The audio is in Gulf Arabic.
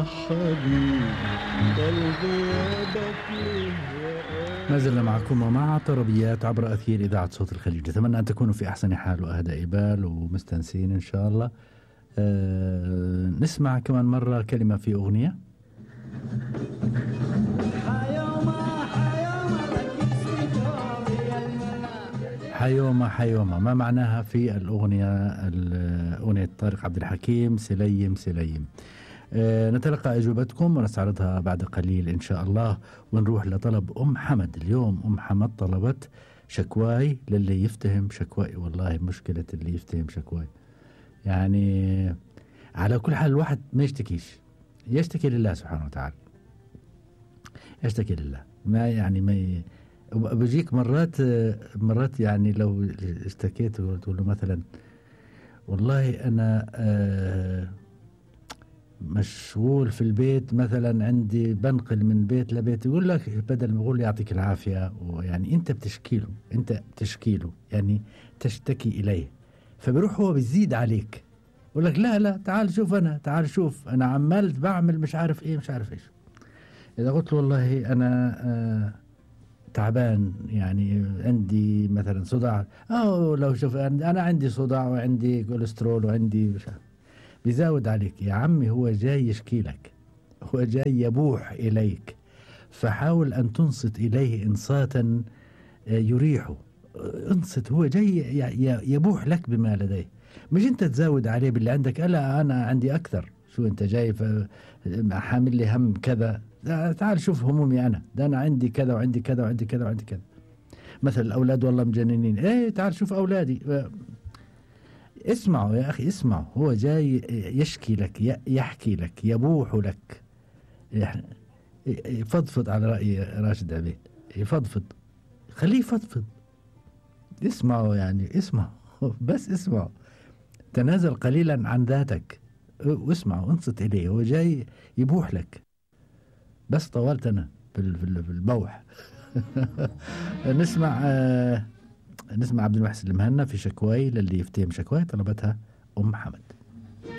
حبيبي قلبي يبكي. ما زلنا معكم ومع طربيات عبر أثير إذاعة صوت الخليج. أتمنى أن تكونوا في أحسن حال وأهدى بال ومستنسين إن شاء الله. نسمع كمان مرة كلمة في أغنية. حيومة حيومة، ما معناها في الأغنية؟ أغنية طارق عبد الحكيم سليم سليم. نتلقى أجوبتكم ونستعرضها بعد قليل إن شاء الله. ونروح لطلب أم حمد. اليوم أم حمد طلبت شكواي للي يفتهم شكواي. والله مشكلة اللي يفتهم شكواي، يعني على كل حال الواحد ما يشتكيش، يشتكي لله سبحانه وتعالى، يشتكي لله. ما يعني ما بيجيك مرات يعني لو اشتكيت وتقول له مثلا والله أنا مشغول في البيت، مثلا عندي بنقل من بيت لبيت، يقول لك بدل ما يقول يعطيك العافية، ويعني انت بتشكيله يعني تشتكي اليه، فبيروح هو بيزيد عليك، يقول لك لا تعال شوف انا عمال بعمل مش عارف ايه مش عارف ايش. اذا قلت له والله انا تعبان، يعني عندي مثلا صداع، او لو شوف انا عندي صداع وعندي كوليسترول وعندي مش عارف، بيزود عليك. يا عمي هو جاي يشكي لك، هو جاي يبوح إليك، فحاول أن تنصت إليه إنصاتا يريحه. انصت، هو جاي يبوح لك بما لديه، مش أنت تزود عليه باللي عندك. ألا أنا عندي أكثر، شو أنت جاي حامل لي هم كذا؟ تعال شوف همومي أنا، ده أنا عندي كذا وعندي كذا وعندي كذا وعندي كذا. مثل الأولاد والله مجننين، إيه تعال شوف أولادي. اسمعوا يا أخي، اسمعوا، هو جاي يشكي لك، يحكي لك، يبوح لك، يفضفض على رأي راشد عبيد، يفضفض، خليه يفضفض. اسمعوا يعني، اسمعوا بس اسمعوا، تنازل قليلا عن ذاتك واسمعوا، انصت إليه، هو جاي يبوح لك. بس طولت أنا في البوح. نسمع عبد المحسن المهنا في شكواي للي يفتهم شكواي، طلبتها أم حمد.